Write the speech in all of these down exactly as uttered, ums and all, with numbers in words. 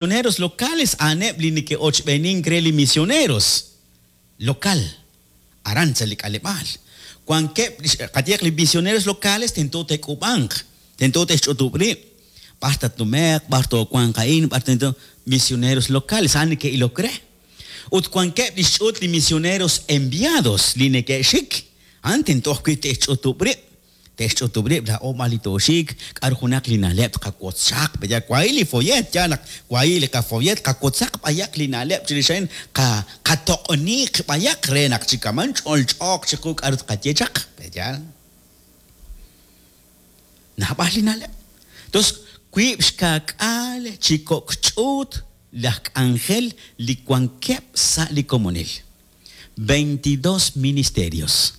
Misioneros locales a'aneb' li neke'ochb'eenink re li misioneros local aran sa' li k'aleb'aal. Wankeb' qayehaq li misioneros locales tento te'k'uub'anq, tento te'xch'utub' rib', b'ar tatnume'q, b'ar toowanq a'in, b'ar tento misioneros locales a'an neke'ilok re. Ut wankeb' li xch'uut li misioneros enviados li neke'xik, a'an tento ajwi' te'xch'utub' rib', te'xch'utub' rib' laa'o b'ar li tooxik, k'aru junaq li na'leb' tqawotz chaq, b'ayaq wahi' li follet, yaal naq wahi' li qafollet qawotzaq b'ayaq li na'leb' chirix a'in, qatoq'oniiq b'ayaq re naq chi kaman ch'olch'ooq chiqu k'aru tqaye chaq, yaal. Naab'al li na'leb'. Entonces, wiib' xka'k'aal chi kok' ch'uut laj k'anjel li wankeb' sa' li komonil. veintidós ministerios.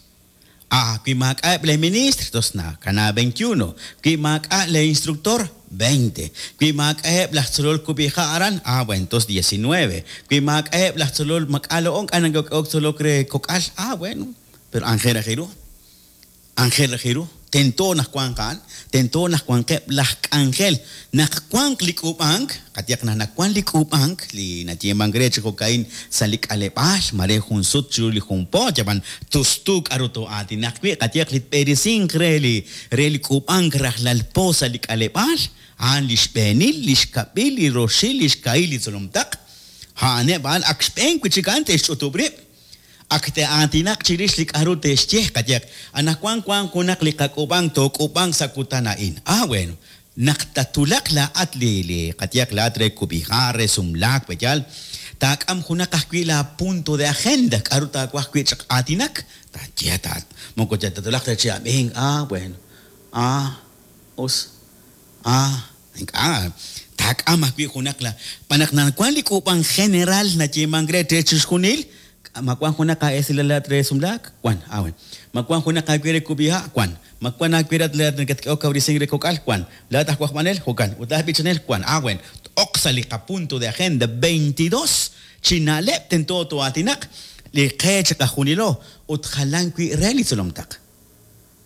Ah, wi maak'a'eb' le ministro, entonces nakana veintiuno. Wi maak'a' le instructor, veinte. Wi maak'a'eb' laj tzolol kub'iha' aran, ah, bueno, entonces diecinueve. Wi maak'a'eb' laj tzolol mak'alo'on k'a nak'ok tzolok re kok'al, ah, bueno, pero Ángel Ajiru, Ángel Ajiru, tento naq wanq a'an, tento naq wanqeb' laj k'anjel, naq wanq li k'uub'ank, qayehaq naq nawank li k'uub'ank, li nayeemank re chi jo'ka'in sa' li k'aleb'aal, mare jun sut chiru li jun po, yab'an tustu k'aru too'aatinaq wi', qayehaq li tb'eresinq re li re li k'uub'ank rajlal po sa' li k'aleb'aal, a'an li xb'eenil, li xkab'il, li roxil, li xkahil li tzolomtaq, a'aneb' a'an ak xb'een wi' chik a'an te'xch'utub' rib'. Ak te'aatinaq chirix li k'aru te'xye, qayehaq, anaqwan wank junaq li qak'uub'ank took'uub'ank sa' kutan a'in. Ah, bueno, naq tatulaq laa'at li li qayehaq laa'at re kub'iha', re sumlaak, b'eyal, taak'am junaq ajwi' la punto de agenda, k'aru taawaj wi' chaq aatinak, taaye taat, moko tatulaq ta chi ab'ink, ah, bueno, ah, us, ah, ink'a', taak'am ajwi' junaq la, b'anaq nawank li k'uub'ank general nayeemank re re chixjunil, ma wank junaq aesilal re sumlaak, wan, ah, bueno. Ma wank junaq aawe re kub'iha', wan. Ma wank aawe rat nakatk'ehok kawresink re kok'al, wan. Laa'at aj wajb'anel, jo'kan. Ut laa'at b'ichanel, wan. Ah, bueno. T'oq sa' li qapunto de agenda veintidós chi na'leb' tento too'aatinaq li qe chiqajunilo ut jalan wi' re li tzolomtaq.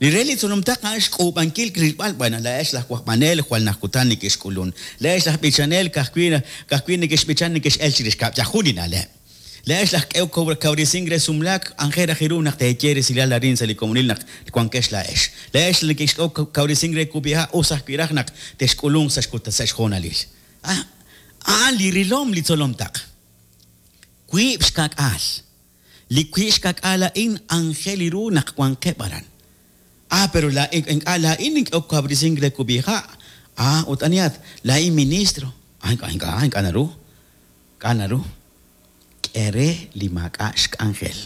Li re li tzolomtaq a'an xk'uub'ankil rilb'al, bueno, laa'ex laj wajb'anel jwal naj kutan neke'xk'ulun. Laa'ex laj b'ichanel ka'ajwi' ka'ajwi' neke'xb'ichan neke'x'el chirix kab' yajun li na'leb'. Laa'ex laj k'ew kawresink re sumlaak, Ángel Ajiru naq teeye resilal arin sa' li komonil naq wankex laa'ex. Laa'ex neke'xk'ew kawresink re kub'iha' us ajwi' raj naq te'xk'ulunq sa' xkuta sa' xjoonalil. Ah, a'an li rilom li tzolomtaq. Wiib' xka'k'aal. Li wiib' xka'k'aal a'in Ángel iru naq wanqeb' aran. Ah, pero la ink'a' laa'in nink'ew kawresink re kub'iha'. Ah, ut anihat, laa'in ministro. Ah, ink'a' ink'a' ink'a' naru. Ink'a' naru. K'e re li maak'a' xk'anjel.